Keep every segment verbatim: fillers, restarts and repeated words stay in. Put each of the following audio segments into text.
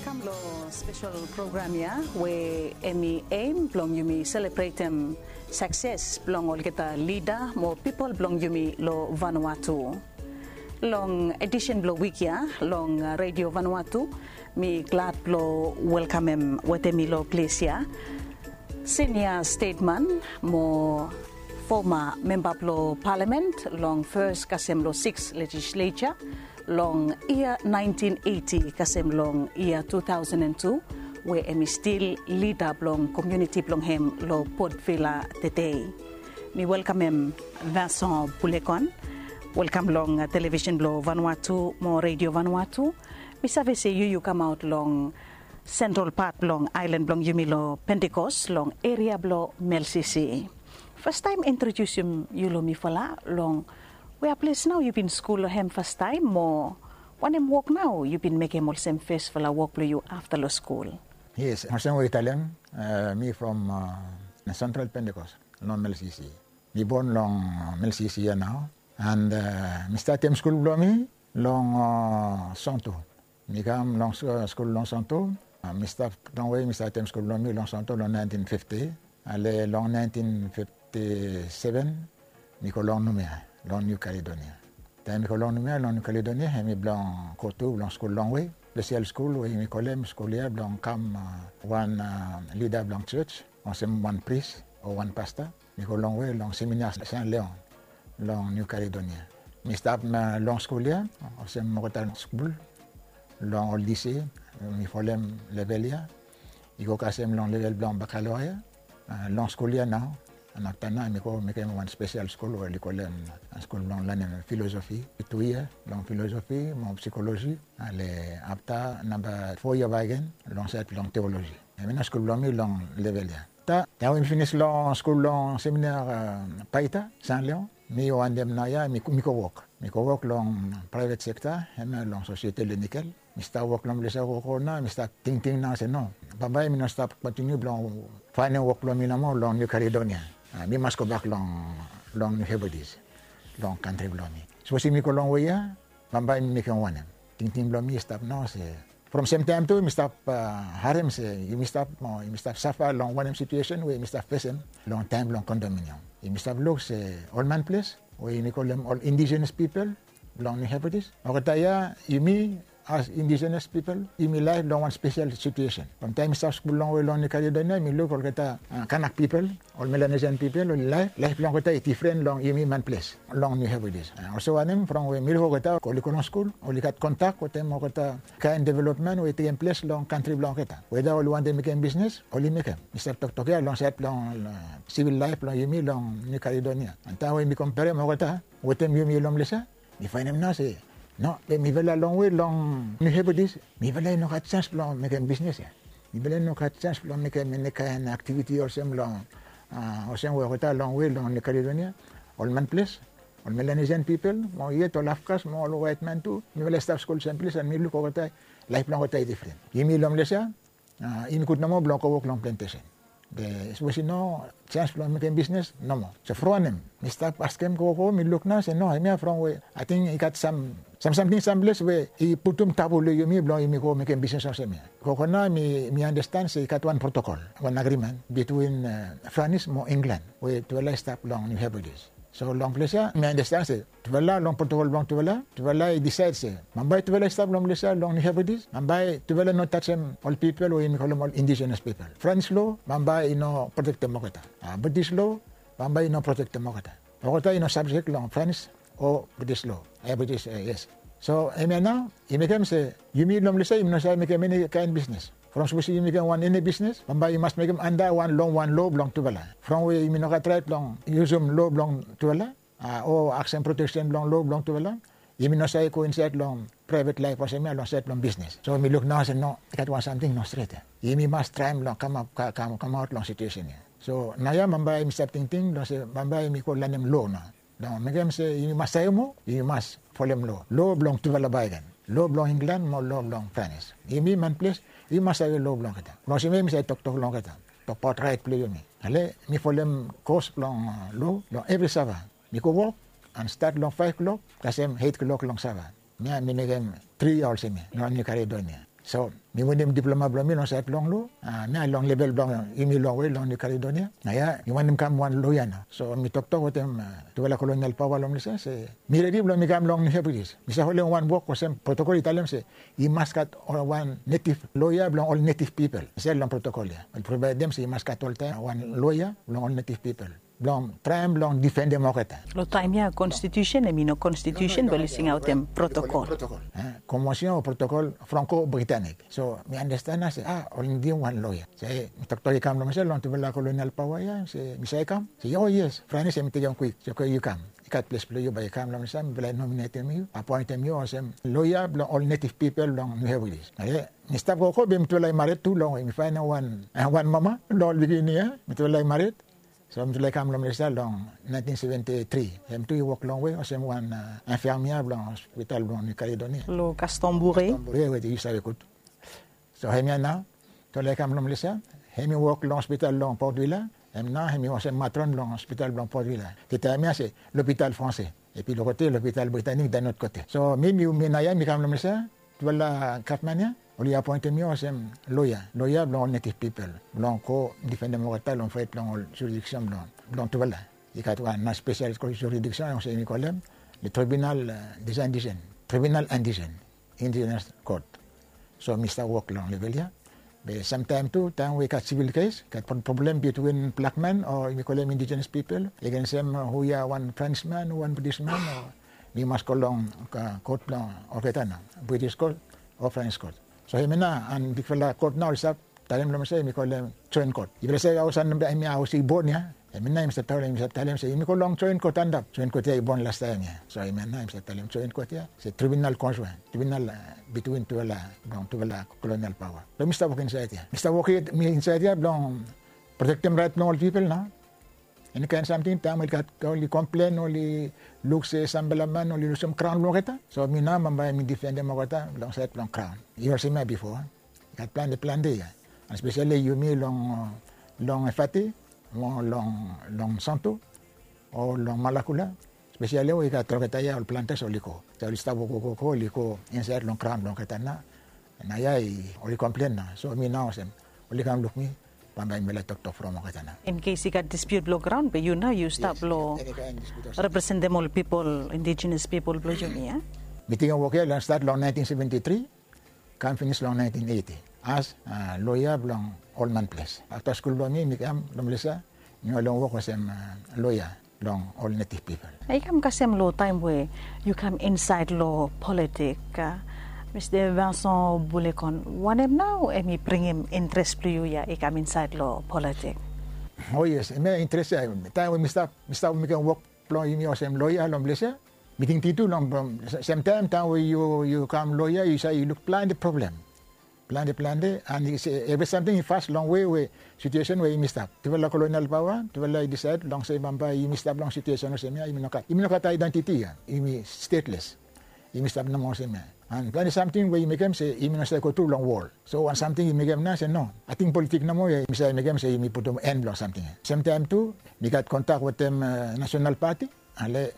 Long spesel program ya we hemi aim blong yumi selebretem sakses blong olgeta lida mo pipol blong yumi long Vanuatu. Long edisen blong wik ya long Redio Vanuatu, mi glad blong welkamem wetem mi long ples ya sinia stetman mo foma memba blong palamen long fes kasem long sikis lejislesa long yia naentin eiti kasem long yia tu taosen an tu, we hemi stil lida blong komuniti blong hem long Port Vila tedei. Mi welkamem Vincent Bulekon. Welkam long televisen blong Vanuatu mo Redio Vanuatu. Mi save se yu yu kamaot long sentral pat blong aelan blong yumi long Pentekos long eria blong Melsisi. Fastaem introdiusim yu long mifala long wea ples nao yu bin skul long hem fastaem mo wanem wok nao yu bin mekem olsem fesfala wok blong yu afta long skul? Yes, olsem we yu talem, mi from sentral Pentekos long Melsisi. Mi bon long Melsisi ya nao. And mi statem skul blong mi long Santo. Mi kam long skul long Santo. Mi stap longwe mi statem skul blong mi long Santo long naentin fifti. Ale long naentin fifti seven mi go long Numea long Niu Kaledonia. Taem mi go long Numea long Niu Kaledonia, hemi blong go tu blong skul longwe, spesel skul we yumi kolem skul ya blong kam wan lida blong jos, olsem wan pris o wan pasta. Mi go longwe long seminar San Leon long Niu Kaledonia. Mi stap long skul ya olsem olgeta skul long ol lise, mi folem level ya. I go kasem long level blong bakaloria. Long skul ya nao, and afta nao mi go mekem wan spesel skul we oli kolem skul blong lanem filosofi. Tu yia long filosofi mo psikoloji. Ale afta namba fo yia bakegen long saed blong teoloji. Hemia nao skul blong mi long level ya. Taem we mi finis long skul long seminar Paita San Leon, mi wantem nao ya mi go wok. Mi go wok long praevet sekta, hemia long Societe Le Nickel. Mi stap wok long ples ya gogo nao, mi stap tingting nao se no, bambae mi no stap kontiniu blong faenem wok blong mi nomo long Niu Kaledonia. Mi mas gobak long Niu Hebridis, long kantri blong mi. Sapos mi go longwe ya, bambae mi mekem wanem? Tingting blong mi i stap nao se from semtaem tu mi stap harem se yumi stap mo yumi stap safa long wanem situesen we yumi stap fesem long taem blong kondominium. Yumi stap luk se ol manples we yumi kolem ol indigenous pipol blong Niu Hebridis, olgeta ya yumi as indigenous pipol yumi laef long wan spesel situesen. From taem mi stap skul longwe long Niu Kaledonia mi luk olgeta Kanak pipol, ol Melanesian pipol, oli laef, laef blong olgeta i difren long yumi manples long Niu Hebridis. Olsem wanem, from we mi luk olgeta oli go long skul, oli gat kontak wetem olgeta kaen developmen we i tekem ples long kantri blong olgeta. Weda oli wantem mekem bisnes, oli mekem. Mi stap toktok ya long saed blong sivil laef blong yumi long Niu Kaledonia. And taem we mi komperem olgeta wetem yumi long ples ya, mi faenem nao se no, be mifala longwe long Niu Hebridis, mifala i no gat jaens blong mekem bisnes ya. Mifala i no gat jaens blong mekem eni kaen aktiviti olsem long, olsem we olgeta longwe long Niu Kaledonia, ol manples, ol Melanesian pipol mo yet ol Afgas mo ol waetman tu, mifala i stap skul sem ples and mi luk olgeta, laef blong olgeta i difren. Yumi long ples ya, yumi gud nomo blong go wok long plentesen. Be sapos i no jaens blong mekem bisnes, nomo. So from wanem, mi stap askem gogo, mi luk nao se no, hemia from we ating i gat sam, sam samting samples we i putum tabu long yumi blong yumi go mekem bisnes olsem ya. Gogo nao mi, mi andastan se i gat wan protokol, wan agrimen bitwin Franis mo Inglan we tufala i stap long Niu Hebridis. So long ples ya mi andastan se tufala long protokol blong tufala, tufala i disaed se bambae tufala i stap long ples ya long Niu Hebridis, bambae tufala no tajem ol pipol we yumi kolem ol indigenous pipol. Franis lo bambae i no protektem olgeta. Britis lo bambae i no protektem olgeta. Olgeta i no sabjek long Franis o Britis lo. Britis, yes. So hemia nao i mekem se yumi long ples ya yumi no save mekem eni kaen bisnes. From sapos yumi mekem wan eni bisnes, bambae i mas mekem anda wan long wan lo blong tufala. From we yumi no gat raet blong yusum lo blong tufala o aksem proteksen blong lo blong tufala, yumi no save go insaed long praevet laef olsem ya long saed blong bisnes. So mi luk nao se no, i gat wan samting no stret ya. Yumi mas traem blong kamaot long situesen ya. So naoia bambae mi stap tingting blong se bambae mi go lanem lo nao. Blong mekem se yumi mas save moa, yumi mas folem lo, lo blong tufala bakegen, lo blong Inglan mo lo blong Franis. Yumi manples, yumi mas save lo blong olgeta. Blong olsem ya yumi save toktok long olgeta, tokbaot raet blong yumi. Ale mi folem kos blong lo long evri sava. Mi go wok and stat long faef klok kasem eit klok long sava. Mia mi mekem tri yia olsem ya long Niu Kaledonia. So mi winim diploma blong mi long saed blong lo, mi ya long level blong yumi long we long New Caledonia. Na ya mi wantem kam wan loia nao. So mi toktok wetem tufala kolonial paoa long Malaysia se mi redi blong mi kam long New Hebrides. Mi save holem wan wok olsem protokol i talem se i mas gat wan netiv loia blong ol netiv pipol insaed long protokol ya. Ol provaedem se i mas gat oltaem wan loia blong ol netiv pipol blong traem blong difendem olgeta. Long taem ya konstitusen hemi no konstitusen be oli singaotem protokol. Konvension o protokol Franko-Britanik. So mi andasten nao se a oli nidim wan loia. Se mi toktok i kam long mi se long tufala kolonial paoa ya se mi save kam. Se o yes, Franis hemi tekem kwik. Se oke yu kam. I gat ples blong yu bae yu kam long mi se mifala i nominetem yu, apoentem yu olsem loia blong ol netiv pipol long New Hebrides. Oke. Mi stap gogo be mitufala i mared tu long we mi faenem wan mama long ol pikinini ya. Mitufala i mared. So mitufala i kam long Malaysia long naentin seventi tri. Hem tu i wok longwe olsem wan infirmier blong hospital blong New Caledonia. Long Gaston Bouret. Bouret we yu save gud. So hemia nao mitufala i kam long Malaysia. Hem i wok long hospital long Port Vila. Hem nao hem i olsem matron long hospital blong Port Vila. Taem ya se l'Hôpital Français. Epi long kote l'Hôpital Britannique, Deinod kote. So mi, mi, mi nao ya mi kam long Malaysia. Tufala gavman ya oli apoentem mi olsem loia, loia blong ol netiv pipol blong go difendem olgeta long faet blong ol jurisdiksen blong, blong tufala. I gat wan nao spesial jurisdiksen olsem yumi kolem le Tribunal des Indigènes, Tribunal Indigène, Indigenous Court. So mi stap wok long level ya. Be samtaem tu taem we i gat sivil kes, gat problem bitwin blakman o yumi kolem indigenous pipol agensem hu ya, wan Frenchman o wan Britishman, o mi mas go long kot blong olgeta nao, British Court o French Court. So hemia nao an bigfala kot nao oli stap talem long mi se yumi kolem Joint Court. Yufala save haos hemia haos i bon ya. Hemia nao yumi stap talem, yumi stap talem se yumi go long Joint Court antap. Joint Court ya i bon lastaem ya. So hemia nao yumi stap talem Joint Court ya se tribunal conjoint, tribunal bitwin tufala, blong tufala kolonial paoa. So mi stap wok insaed ya. Mi stap wok insaed ya blong protektem raet blong ol pipol nao. Enikaen samting taem oli gat, oli komplen, oli luk se samfala man oli lusum graon blong olgeta. So mi nao bambae mi difendem olgeta long saed blong graon. I olsem ya bifo. I gat plante, plante ya. Espeseli yumi long, long Efate, long, long Santo o long Malakula. Espeseli we i gat olgeta ya ol plantas oli go. So oli stap wok, wok, wok, oli go insaed long graon blong olgeta nao. Na ya oli komplen nao. So mi nao olsem oli kam luk mi, bambae mifala i toktok from olgeta nao. In case i gat dispute blong graon be yu nao yu stap long representem ol pipol, indigenous pipol blong yumi ya. Mi tingim wok ya long stat long naentin seventi tri, kam finis long naentin eiti as loia blong Old Man's Place. Afta skul blong mi, mi kam long Malaysia, mi go long wok olsem loia long ol netiv pipol. I kam kasem long taem we yu kam insaed long politik, Mista Vincent Boulecon, wanem nao hemi bringim interes blong yu ya i kam insaed long politik? O yes, hemia interes ya, taem we mi stap, mi stap mekem wok blong yumi olsem loia long Malaysia, mi tingting tu long, semtaem taem we yu, yu kam loia yu save, yu luk plante problem. Plante, plante, an evri samting i fas long we, we situesen we yumi stap. Tufala kolonial paoa, tufala i disaed long se bambae yumi stap long situesen olsem ya, yumi no gat, yumi no gat aedentiti ya, yumi stateless. Yumi stap nomo olsem ya. An plante samting we i mekem se yumi no save go tru long wol. So wan samting i mekem nao se no, ating politik nomo ya, yumi save mekem se yumi putum en blong samting ya. Semtaem tu mi gat kontak wetem National Party. Ale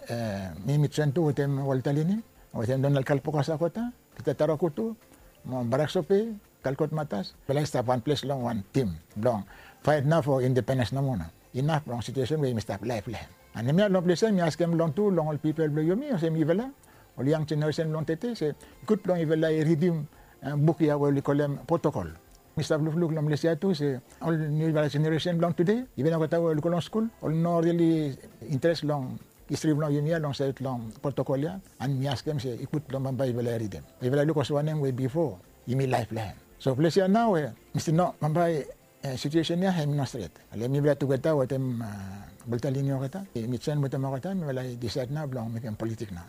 mi, mi joen tu wetem Walter Lini, wetem Donald Kalpoka Sakota, Peter Tarakutu, mo Barak Sope, Kalkot Matas. Mifala i stap wan ples long wan tim blong faet nao fo independens nomo nao. Inaf long situesen we yumi stap laef long hem. An hemia long ples ya mi askem long tu long ol pipol blong yumi olsem yufala, ol yang jeneresen blong tede se i gud blong yufala i ridim buk ya we oli kolem protokol. Mi stap lukluk long Malaysia tu se ol niufala jeneresen blong tede, iven olgeta we oli go long skul, oli no rili interes long histri blong yumi ya long saed long protokol ya. An mi askem se i gud blong bambae yufala i ridim, yufala i luk olsem wanem we bifo yumi laef long hem. So ples ya nao we mi stil no, bambae situesen ya hemi no stret. Ale mifala tugeta wetem Walter Lini olgeta, mi joen wetem olgeta, mifala i disaed nao blong mekem politik nao.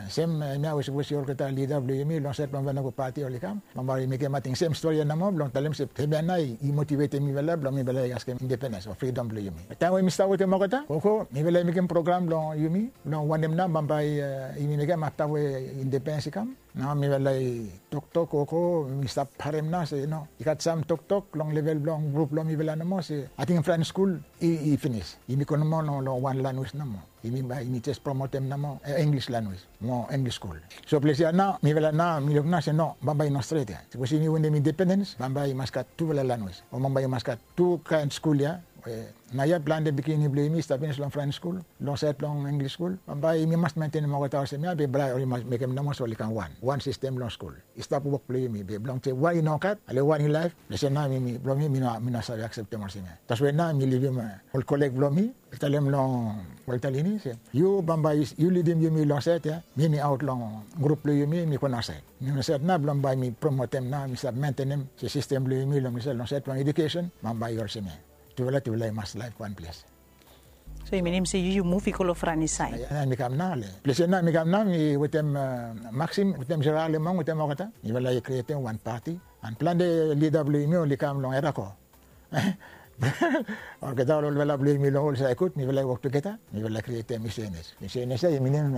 Sem hemia we sapos i olgeta lida blong yumi long saed blong Vanuku Pati oli kam, bambae oli mekem ating sem stori ya nomo blong talem se hemia nao i motivetem mifala blong mifala i askem independens o fridom blong yumi. Taem we mi stap wetem olgeta, gogo mifala i mekem program blong yumi blong wanem nao bambae yumi mekem afta we independens i kam. Nao mifala i toktok, gogo mi stap harem nao se no, i gat sam toktok long level blong grup blong mifala nomo se ating French skul i, i finis. Yumi go nomo No, no, long wan lanwis nomo. Yumi bae yumi jes promotem nomo English lanwis mo English skul. So ples ya nao mifala nao mi luk nao se no, bambae i no stret ya. Sapos yumi wantem independens, bambae i mas gat tufala lanwis o bambae i mas gat tu kaen skul ya. Naoia plante pikinini blong yumi i stap finis long French skul, long saed blong English skul. Bambae yumi mas mentenem olgeta olsem ya be bae oli mas mekem nomo se oli kam wan, wan sistem long skul. I stap wok blong yumi be blong se wan i no gat, ale wan i laef. Olsem nao mi, mi blong mi, mi no, mi no save akseptem olsem ya. Taswe nao mi livim ol koleg blong mi, mi talem long Walter Lini se, yu bambae yu lidim yumi long saed ya, mi mi aot long grup blong yumi, mi go naosaed. Mi naosaed nao blong bae mi promotem nao, mi stap mentenem se sistem blong yumi long saed, long saed blong edukesen bambae i olsem ya. Tufala, tufala i mas laef wan ples. So i minim se yu yu muv i go long Franis saed. Ya, mi kam nao le. Ples ya nao mi kam nao mi wetem Maxim, wetem Gerard Lemong, wetem olgeta. Mifala i krietem wan pati. An plante lida blong yumi oli kam long Erako. Olgeta ol olfala blong yumi long ol saed, mifala i wok tugeta. Mifala i krietem I C N S. I C N S ya i minim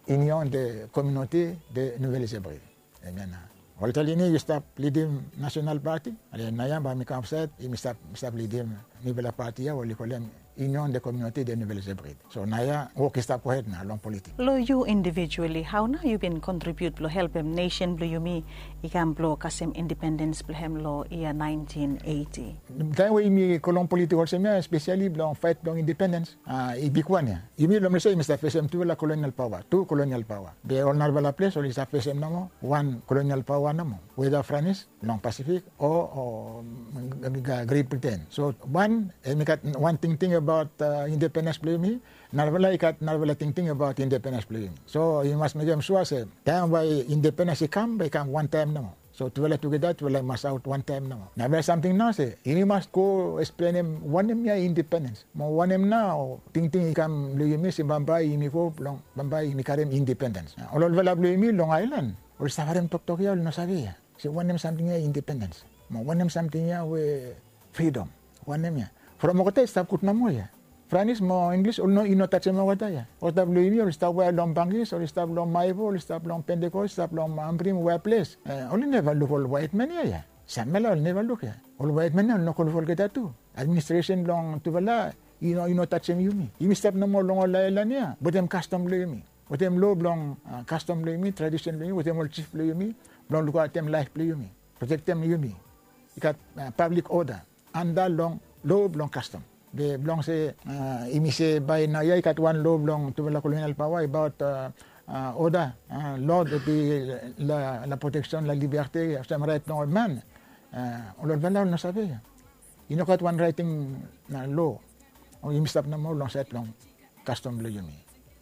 Union de Communauté de Nouvelles-Hebrides. Hemia nao. Walter Lini i stap lidim National Party, ale naoia bae mi kam saed, mi stap, mi stap lidim niufala pati ya oli kolem Union de Communauté de Nouvelles-Hebrides. So naoia wok i stap gohed nao long politiks. Long yu individuali, hao nao yu bin kontribiut blong helpem nesen blong yumi i kam blong kasem indipendens blong hem long yia naentin eiti? Taem we yumi go long politiks olsem ya, espeseli blong faet blong indipendens, a, i bigwan ya. Yumi long ples ya yumi stap fesem tufala kolonial paoa, tu kolonial paoa. Be ol narafala ples oli stap fesem nomo wan kolonial paoa nomo, weda Franis long Pasifik o, o Great Britain. So wan, hemi gat wan tingting abaot indipendens blong yumi, narafala i gat narafala tingting abaot indipendens blong yumi. So yumi mas mekem sua se taem bae indipendens i kam, bae i kam wantaem nomo. So tufala tugeta tufala i mas aot wantaem nao. Narafala samting nao se yumi mas go eksplenem wanem ya indipendens mo wanem nao tingting i kam long yumi se bambae yumi go blong bambae yumi karem indipendens. Ol olfala blong yumi long aelan oli save harem toktok ya, oli no save ya se wanem samting ya indipendens mo wanem samting ya we fridom. Wanem ya? From olgeta i stap gud nomo ya. Franis mo Inglis oli no, i no tajem olgeta ya. Olgeta blong yumi oli stap we long Bangis, oli stap long Maevo, oli stap long Pentekost, stap long Ambrim, wea ples. Oli neva luk ol waetman ya ya. Samfala oli neva luk ya. Ol waetman ya oli no go luk olgeta tu. Administresen blong tufala i no, i no tajem yumi. Yumi stap nomo long ol aelan ya wetem kastom blong yumi, wetem loa blong kastom blong yumi, tradisen blong yumi, wetem ol jif blong yumi, blong lukaotem laef blong yumi, protektem yumi. I gat pablik oda anda long loa blong kastom. Be blong se yumi se bae naoia i gat wan loa blong tufala kolonial paoa abaot oda, loa blong proteksen, la liberte, olsem raet blong ol man. Ol olfala oli no save ya. I no gat wan raeting loa. Yumi stap nomo long saed blong kastom blong yumi.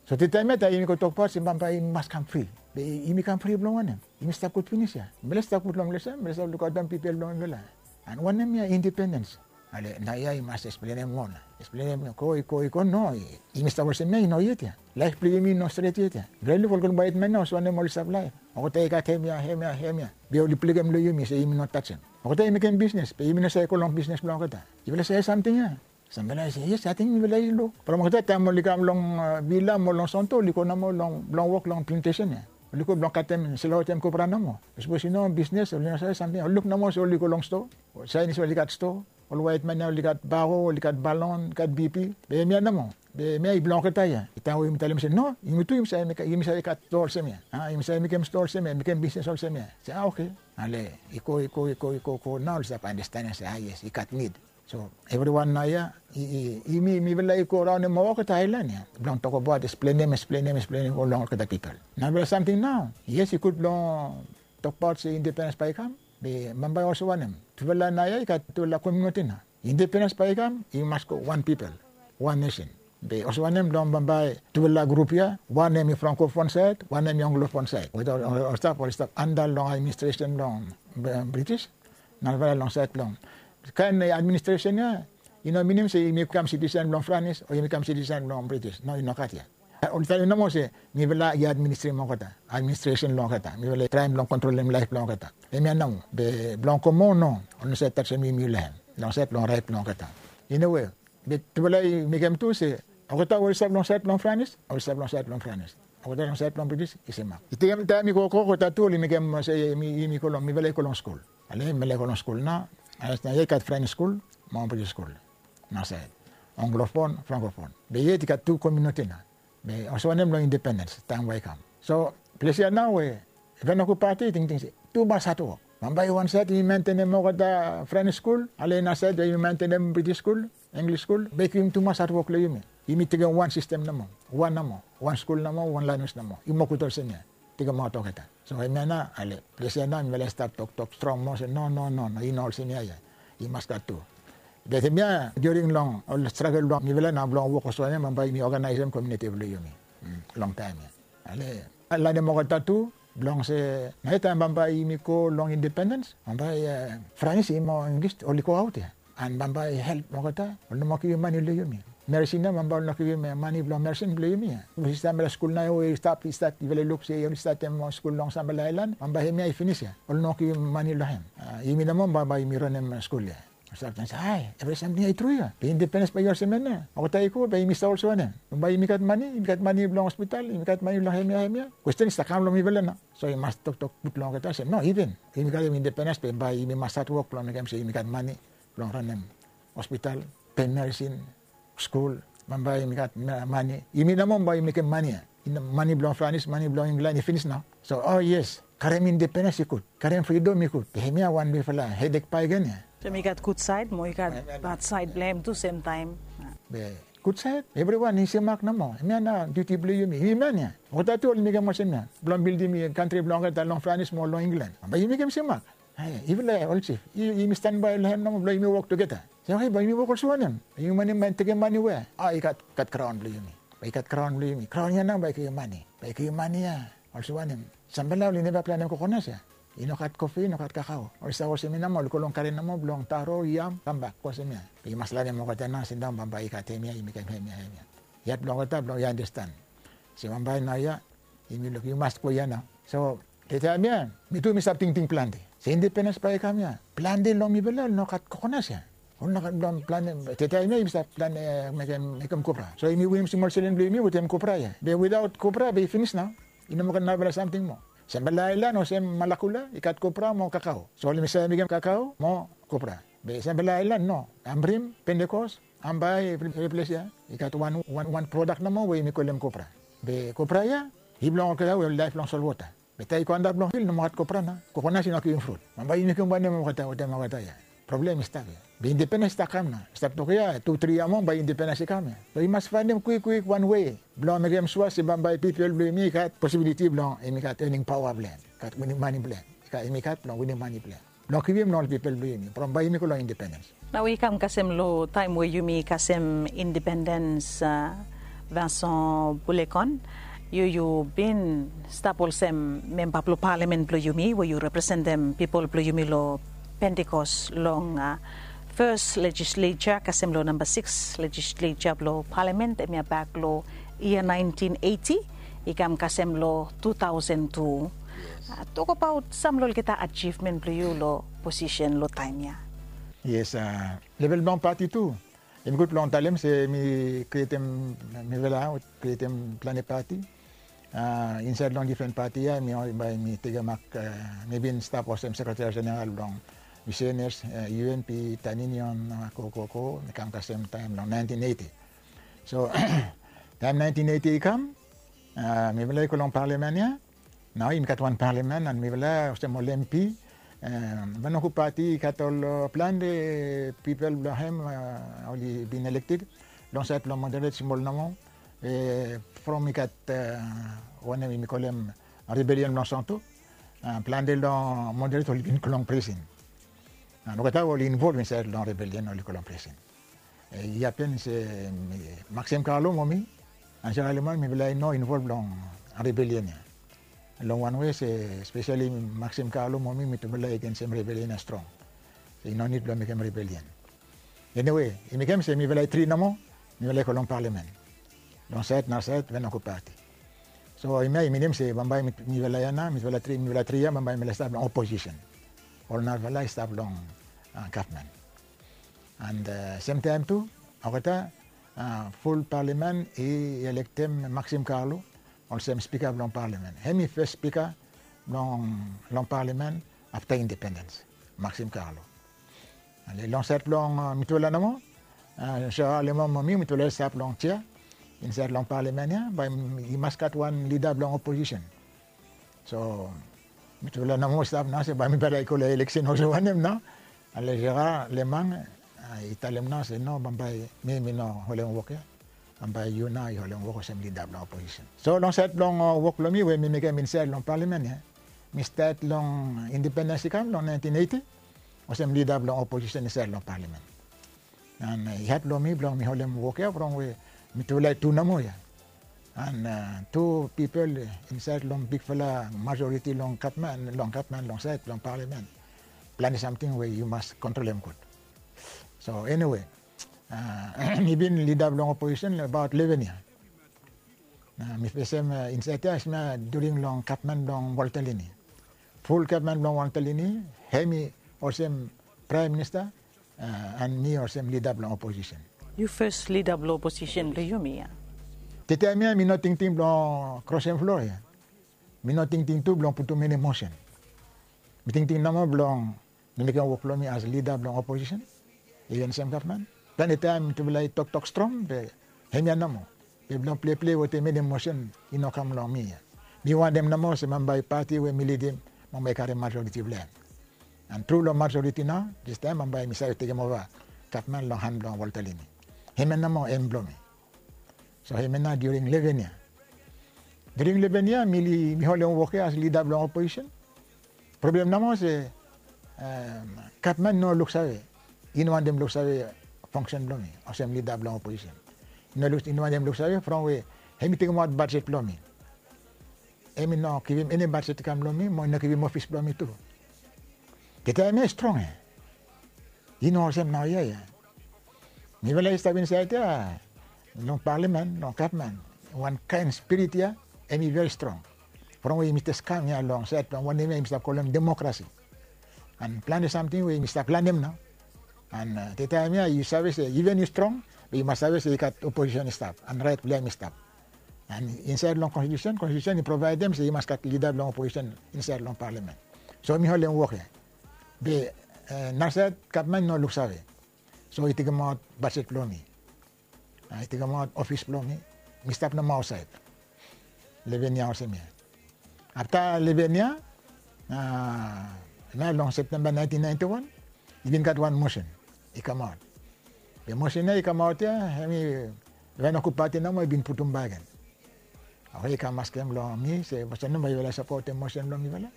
So taem ya taem yumi go tokbaot se bambae yumi mas kam fri. Be yumi kam fri blong wanem? Yumi stap gud finis ya. Mifala i stap gud long ples ya, mifala i stap lukaotem pipol blong mifala. An wanem ya indipendens? Ale naoia i mas eksplenem moa nao. Eksplenem i go, i go, i go, no, yumi stap olsem ya i no yet ya. Laef blong yumi i no stret yet ya. Mifala i luk ol waetman ya olsem wanem oli stap laef. Olgeta i gat hemia, hemia, hemia. Be oli blekem long yumi se yumi no tajem. Olgeta i mekem bisnes be yumi no save go long bisnes blong olgeta. Yufala save samting ya? Samfala i se yes, ating mifala i luk. From olgeta taem oli kam long vila mo long sonto oli go nomo long blong wok long plantesen ya. Oli go blong katem, selaotem kopra nomo. Sapos i no bisnes oli no save samting ya. Oli luk nomo se oli go long stoa. Saen se oli gat stoa. Ol waetman ya oli gat bao, oli gat balon, gat bipi. Be hemia nomo. Be hemia i blong olgeta ya. I taem we yumi talem se no, yumi tu yumi save gat stoa olsem ya. Yumi save mekem stoa olsem ya, mekem bisnes olsem ya. Se a, oke. Ale i go, i go, i go, i go, go nao oli stap andastanem se a, yes, i gat nid. So evriwan naoia, i, i, yumi, mifala i go raonem olgeta aelan ya blong tokbaot, eksplenem, eksplenem, eksplenem long olgeta pipol. Narafala samting nao, yes, i gud blong tokbaot se indipendens bae i kam. Be bambae olsem wanem? Tufala naoia i gat tufala komuniti nao. Indipendens bae i kam, i mas go wan pipol, wan nesen. Be olsem wanem blong bambae tufala grup ya, wan hemi frankofon saed, wan hemi anglofon saed. Wetem ol stap, ol stap anda long administresen blong British. Narafala long saed blong kaen administresen ya, i no minim se yumi kam sitisen blong Franis o yumi kam sitisen blong British. No, i no gat ya. Oli talem nomo se mifala i administrem olgeta, administresen long olgeta. Mifala i traem blong kontrolem laef blong olgeta. Hemia nao. Be blong go moa, no, oli no save tajem yumi long hem, long saed blong raet blong olgeta. Iniwe, be tufala i mekem tu se olgeta we oli stap long saed blong Franis oli stap long saed blong Franis. Olgeta long saed blong British i semak. I tekem taem i gogo, olgeta tu oli mekem se yumi, yumi go long, mifala i go long skul. Ale mifala i go long skul nao. Ale naoia i gat Franis skul mo British skul naosaed. anglofon, frankofon. Be yet i gat tu kominiti nao. Be olsem wanem long independens taem we i kam. So ples ya nao we Venoko Pati i tingting se tumas hatwok. Bambae wan saed yumi mentenem olgeta Frenis skul, ale nasaed yumi mentenem Britis skul, Inglis skul, be i givim tumas hatwok long yumi. Yumi tekem wan sistem nomo, wan nomo, wan skul nomo, wan lanwis nomo. I moa gud olsem ya. Tekemaot olgeta. So hemia nao ale ples ya nao mifala i stap toktok strong moa se no, no, no, no, i no olsem ya ya. I mas gat tu. Be hemia during long ol stragel blong mifala nao blong wok olsem wanem bambae yumi oganaesem kominiti blong yumi. Long taem ya ale lanem olgeta tu blong se nao taem bambae yumi go long independens bambae Franis i mo Inglis oli go aot ya. An bambae help olgeta oli no moa givim mane long yumi. Merisin ya bambae oli no givim mane blong merisin blong yumi ya. Bikos i stap long skul nao we i stap i stat yufala i luk se oli statem skul long Sambala Aelan bambae hemia i finis ya oli no givim mane long hem. Yumi nomo bambae yumi ranem skul ya. Stap ting se ae evri samting ya i tru ya be independens bae i olsem ya nao olgeta i go be yumi stap olsem wanem? Bambae yumi gat mane, yumi gat mane blong hospital, yumi gat mane blong hemia hemia. Kwesten i stap kam long mifala nao. So i mas toktok gud long olgeta se no, iven yumi gat independens be bae yumi mas hatwok blong mekem se yumi gat mane blong ranem hospital, pem merisin, skul. Bambae yumi gat mane, yumi nomo bae yumi mekem mane ya. Mane blong Franis, mane blong Inglan i finis nao. So o yes, karem independens i gud, karem fridom i gud. Be hemia wan bigfala hedek bakegen ya. So yumi gat gud saed mo i gat bad saed blong hem tu semtaem. Be gud saed evriwan i semak nomo. Hemia nao diuti blong yumi, yumi man ya. Olgeta tu oli mekem olsem ya blong bildim kantri blong olgeta long Franis mo long Inglan. Bambae yumi mekem semak. Yufala ol jif, yumi stanbae long hem nomo blong yumi wok tugeta. Se oke bae yumi wok olsem wanem? Yumi mane man tekem mane we? A i gat, gat graon blong yumi. Bae i gat graon blong yumi. Graon ya nao bae i givim mane. Bae i givim mane ya. Olsem wanem? Sambala oli neva planem kokonas ya. I no gat kofi, i no gat kakao. Oli stap olsem ya nao oli go long garen nomo blong taro, yam, kambak go olsem ya. Be i mas lanem olgeta nao sindaon bambae i gat hemia, i mekem hemia, hemia. Yet blong olgeta blong i andastan se bambae nao ya yumi luk i mas go ya nao. So taem ya mi tu mi stap tingting plante se independens bae i kam ya. Plante long mifala oli no gat kokonas ya. Oli no gat blong plante. Taem ya yumi stap plante mekem kopra. So yumi winim smol selen blong yumi wetem kopra ya. Be witaot kopra be i finis nao. I no moa gat narafala samting moa. Sambala Aelan olsem Malakula i gat kopra mo kakao. So oli mekem kakao mo kopra. Be Sambala Aelan no. Amrim, Pentekos, Ambae, evri ples ya i gat wan, wan, wan prodak nomo we yumi kolem kopra. Be kopra ya i blong olgeta we oli laef long solwota. Be taem i go antap long fil no moa gat kopra nao. Kokonas i no givim frut. Bambae yumi mekem wanem olgeta, wanem olgeta ya? Problem i stap ya. Be independens i stap kam nao. I stap tok ya tu tri yia moa bae independens i kam ya. So i mas faenem kwikkwik wan wei blong mekem sua se bambae pipol blong yumi i gat posibiliti blong yumi gat ening paoa blong hem, gat winim mane blong hem, i gat, yumi gat blong winim mane blong hem blong givim long ol pipol blong yumi from bae yumi go long independens. Nao i kam kasem long taem we yumi kasem independens, Vincent Boulekon, yu yu bin stap olsem memba blong palamen blong yumi we yu representem pipol blong yumi long Pentikos long fes lejislesa kasem long namba sikis lejislesa blong palamen hemia bak long yia naentin eiti i kam kasem long tu taosen tu. Tokabaot sam long olgeta ajivmen blong yu long posisen long taem ya. Yes, level blong pati tu. Hem i gud blong talem se mi krietem, mifala krietem plante pati insaed long difren pati ya. Mi bae mi tekemak, mi bin stap olsem sekreteri jeneral blong misenes, U N P, Tan Yunion, go go go, mi kam kasem taem long naentin eiti. So taem naentin eiti i kam, mifala i go long palamen ya. Nao yumi gat wan palamen an mifala olsem ol M P. Venoko Pati i gat ol plante pipol blong hem oli bin elekted long saed blong moderet smol nomo. From i gat wanem yumi kolem rebelion blong Santo. Plante long moderet oli bin go long prisin. Olgeta we oli involv insaed long rebelion oli go long prisin. I hapen se Maxim Carlo mo mi, Ansel Aleman, mifala i no involv long rebelion ya. Long wan wei se speseli Maxim Carlo mo mi mitufala i gensem rebelion ya strong. I no nid blong mekem rebelion. Eniwe i mekem se mifala i tri nomo mifala i go long palamen long saed nasaed Venoko Pati. So hemia i minim se bambae mifala ya nao, mifala tri, mifala tri ya bambae mifala i stap long oposisen. Ol narafala i stap long gavman. An semtaem tu olgeta ful palamen i elektem Maxim Carlo olsem spika blong palamen. Hem i fes spika blong long palamen afta independens, Maxim Carlo. Ale long saed blong mitufala nomo, So Lemang mo mi mitufala i stap long jea insaed long palamen ya, bae i mas gat wan lida blong oposisen. So mitufala nomo i stap nao se bae mifala i go long eleksen olsem wanem nao. Ale Jera Lemang i talem nao se no, bambae mi mi no holem wok ya. Bambae yu nao yu holem wok olsem lida blong oposisen. So long saed blong wok blong mi we mi mekem insaed long palamen ya, mi stat long independens i kam long naentin eiti olsem lida blong oposisen insaed long palamen. An i had blong mi blong mi holem wok ya from we mitufala i tu nomo ya. An tu pipol insaed long bigfala majoriti long gavman long gavman long saed blong palamen, plante samting we yu mas kontrolem gud. So eniwe, mi bin lida blong oposisen abaot leven yia. Mi fesem insaed ya hemia during long gavman blong Walter Lini. Ful gavman blong Walter Lini, hemi olsem praem minista an mi olsem lida blong oposisen. Yu fes lida blong oposisen blong yumi ya. Te taem ya mi no tingting blong krosem flo ya. Mi no tingting tu blong putum eni mosen. Mi tingting nomo blong mi mekem wok blong mi as lida blong oposisen. Even sem gavman, plante taem mitufala i toktok strong be hemia nomo. Be blong pleple wetem eni mosen i no kam long mi ya. Mi wantem nomo se bambae pati we mi lidim bambae i karem majoriti blong hem. An tru long majoriti nao distaem bambae mi save tekem ova gavman long han blong Walter Lini. Hemia nomo em blong mi. So hemia nao during leven yia. During leven yia mi holem wok ya as lida blong oposisen. Problem nomo se gavman i no luksave. I no wantem luksave fongsen blong mi olsem lida blong oposisen. I no wantem luksave from we hemi tekemaot bajet blong mi. Hemi no givim eni bajet i kam long mi mo i no givim ofis blong mi tu. Te taem ya i strong ya. I no olsem naoia ya. Mifala i stap insaed ya long palamen long gavman, wan kaen spirit ya hemi veri strong. From we yumi jes kam ya long saed blong wanem ya yumi stap kolem demokrasi. An plante samting we yumi stap lanem nao. An te taem ya yu save se even yu strong, be yu mas save se i gat oposisen i stap an raet blong hem i stap. An insaed long konstitusen, konstitusen i provaedem se i mas gat lida blong oposisen insaed long palamen. So mi holem wok ya. Be nasaed gavman i no luksave. So i tekemaot bajet blong mi. I tekemaot ofis blong mi. Mi stap nomo aotsaed. Leven yia olsem ya. Afta leven yia nao long Septemba naentin naenti wan i bin gat wan mosen i kamaot. Be mosen ya i kamaot ya hemi Venoku pati nomo i bin putum bakegen. Oke, i kam askem long mi se olsem nao bae yufala i sapotem mosen blong mifala.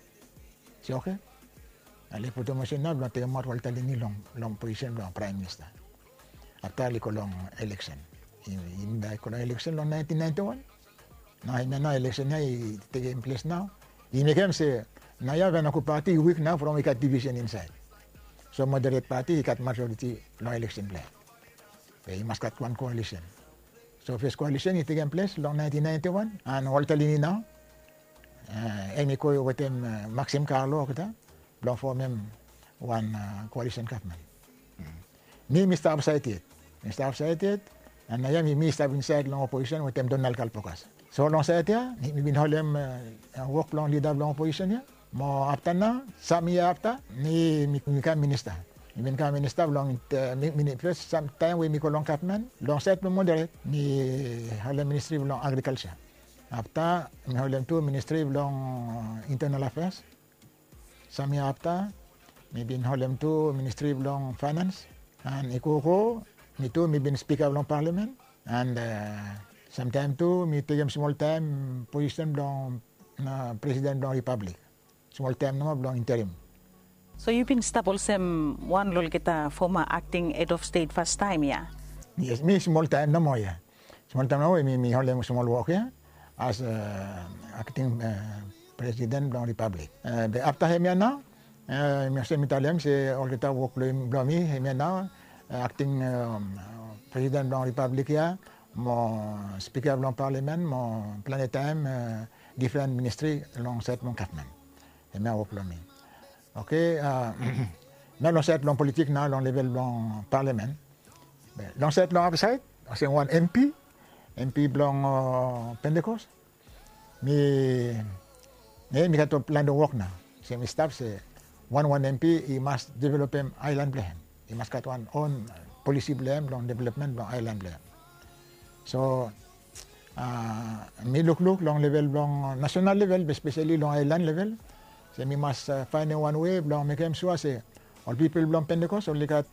Se oke. Ale i putum mosen nao blong tekemaot Walter Lini long posisen blong praem minista. Afta oli go long eleksen. I nida i go long eleksen long naentin naenti wan. Nao hemia nao eleksen ya i tekem ples nao. I mekem se naoia Venoku pati i wik nao from i gat divisen insaed. So moderet pati i gat majoriti long eleksen blong hem. Be i mas gat wan koalisen. So fes koalisen i tekem ples long naentin naenti wan an Walter Lini nao hemi go wetem Maxim Carlo olgeta blong fomem wan koalisen gavman. Mi mi stap aotsaed yet. Mi stap aotsaed yet. An naoia mi mi stap insaed long oposisen wetem Donald Kalpokas. So long saed ya mi bin holem wok blong lida blong oposisen ya. Mo afta nao sam yia afta mi mi kam minista. Mi bin kam minista blong fes sam taem we mi go long gavman long saed blong moderet mi holem ministri blong agrikalsa. Afta mi holem tu ministri blong intenal afeas. Sam yia afta mi bin holem tu ministri blong faenans. An i gogo mi tu mi bin spika blong palamen. An samtaem tu mi tekem smol taem posisen blong presiden blong ripablik. Smol taem nomo blong interim. So yu bin stap olsem wan long olgeta foma akting hed of stet fastaem ya? Yes, mi smol taem nomo ya. Smol taem nomo we mi holem smol wok ya as akting presiden blong ripablik. Be afta hemia nao mi olsem mi talem se olgeta wok blong mi hemia nao akting presiden blong ripablik ya mo spika blong palamen mo plante taem difren ministri long saed blong gavman. Hemia wok blong mi. Oke. Nao long saed blong politik nao long level blong palamen. Long saed long aotsaed olsem wan MP MP blong Pentecost. Mi mi gat wan plante wok nao. Se mi stap se wan wan MP i mas developem aelan blong hem. I mas gat wan on polisi blong hem blong developmen blong aelan blong hem. So mi lukluk long level blong nasenal level be spesali long aelan level se mi mas faenem wan we blong mekem sua se ol pipol blong Pentekos oli gat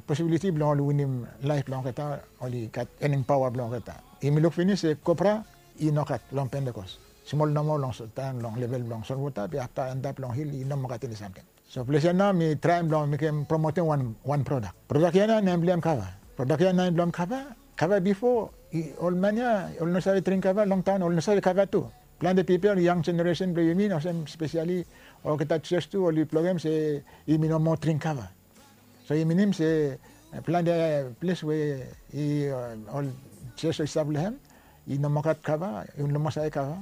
posibiliti blong oli winim laef blong olgeta, oli gat ening paoa blong olgeta. Yumi luk finis se kopra i no gat long Pentekos. Smol nomo long taem long level blong solwota be afta antap long hil i no moa gat eni samting. So ples ya nao mi traem blong mekem promotem wan prodak. Prodak ya nao nem blong hem kava. Prodak ya nem blong hem kava. Kava bifo ol man ya oli no save dring kava, long taon oli no save kava tu. Plante pipol yang jeneresen blong yumi olsem spesali olgeta jos tu oli blogem se yumi no moa dring kava. So i minim se plante ples we ol jos oli stap long hem i no moa gat kava, i no moa save kava.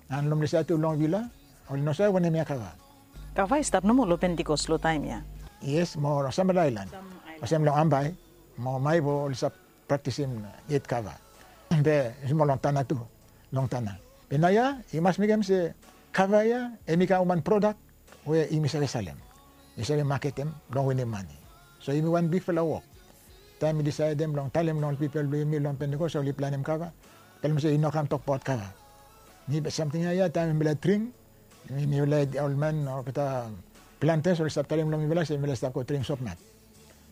An long ples ya tu long vila oli no save wanem ya kava. Kava i stap nomo long Pentikos long taem ya. Yes, mo long sampela aelan olsem long Ambae mo Maewo oli stap praktisim yet kava. Be smol long Tanna tu, long Tanna. Be naoia i mas mekem se kava ya hem i kam wan prodak we yumi save salem, yumi save maketem blong winim mane. So yumi wan bigfala wok. Taem mi disaedem blong talem long ol pipol blong yumi long Pentikos oli planem kava, talem se i no kam tokbaot kava. Ni be samting ya ya taem mifala dring, mifala ol man olgeta plantas oli stap talem long mifala se mifala stap go dring sopnat.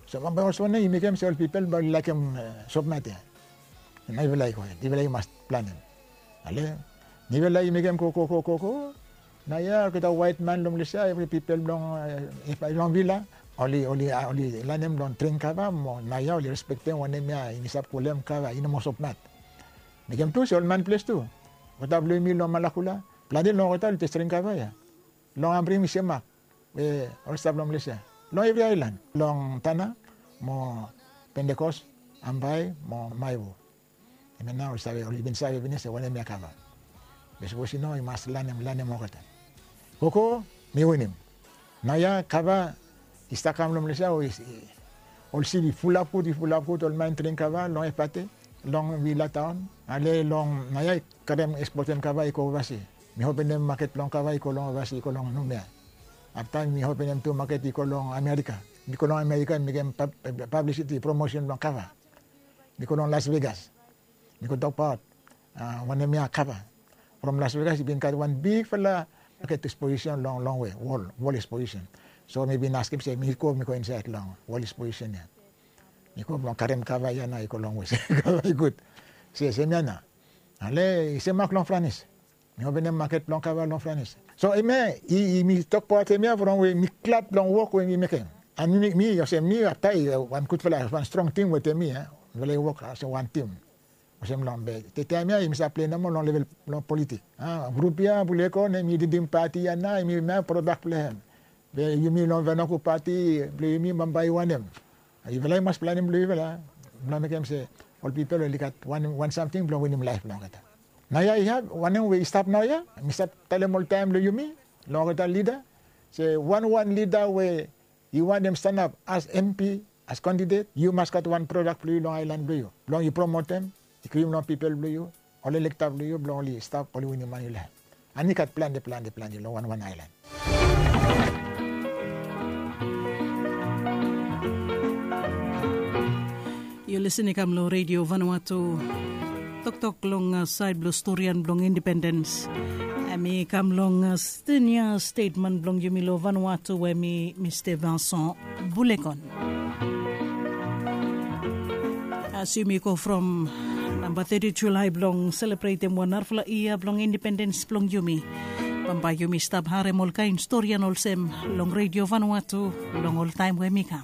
So bambae olsem wanem i mekem se ol pipol bae oli laekem sopnat ya. Naifala i go hed, ifala i mas planem. Ale, nifala i mekem go go go go go. Naoia olgeta waet man long ples ya, evri pipol blong vila oli oli oli lanem blong dring kava mo naoia oli respektem wanem ya i stap kolem kava i no moa sopnat. Mekem tu se ol man ples tu, olgeta blong yumi long Malakula, plante long olgeta oli jes dring kava ya. Long Ambring mi semak we oli stap long ples ya, long evri aelan, long Tanna mo Pentikos, Ambae mo Maewo. Hemia nao oli save, oli bin save finis se wanem ya kava. Be sapos i no i mas lanem, lanem olgeta. Gogo mi winim. Naoia kava i stap kam long ples ya, ol sip i fulap gud, i fulap gud, ol man dring kava long Efate, long vila taon. Ale long naoia i karem ekspotem kava i go ovasi. Mi openem maket blong kava i go long ovasi, i go long Numea. Afta mi openem tu maket i go long Amerika. Mi go long Amerika mi mekem pablisiti, promosen blong kava. Mi go long Las Vegas, mi go tokbaot wanem ya kava. From Las Vegas i bin gat wan bigfala maket eksposisen long longwe, wol, wol eksposisen. So mi bin askem se mi go, mi go insaed long wol eksposisen ya. Mi go blong karem kava ya nao i go longwe se kava i gud. Se hemia nao. Ale i semak long Franis. Mi openem maket blong kava long Franis. So hemia i, mi tokbaot hemia from we mi glad blong wok we mi mekem. An mi, mi olsem mi afta i wan gudfala, wan strong tim wetem mi, mifala i wok olsem wan tim. Olsem long be taem ya yumi save plei nomo long level blong politik. Grup ya Bulekon hemi lidim pati ya nao, hemi mekem prodak blong hem. Be yumi long Vanoku pati blong yumi bambae i wanem? Yufala i mas planem blong yufala blong mekem se ol pipol oli gat wan, wan samting blong winim laef blong olgeta. Naoia i have wanem we i stap naoia, mi stap talem oltaem long yumi, long olgeta lida, se wanwan lida we i wantem stanap as M P, as kandidet, yu mas gat wan prodak blong yu long aelan blong yu blong yu promotem, i givim long pipol blong yu, ol elekta blong yu blong oli stap oli winim mane long hem. An i gat plante, plante, plante long wanwan aelan. Yu lisin i kam long Redio Vanuatu. Toktok long saed blong storian blong indipendens. Hem i kam long senior statesman blong yumi long Vanuatu we mi Mista Vincent Bulekon. As yumi go from namba teti Julae blong selebretem wan narafala yia blong indipendens blong yumi, bambae yumi stap harem olkaen storian olsem long Redio Vanuatu long ol taem we mi kam.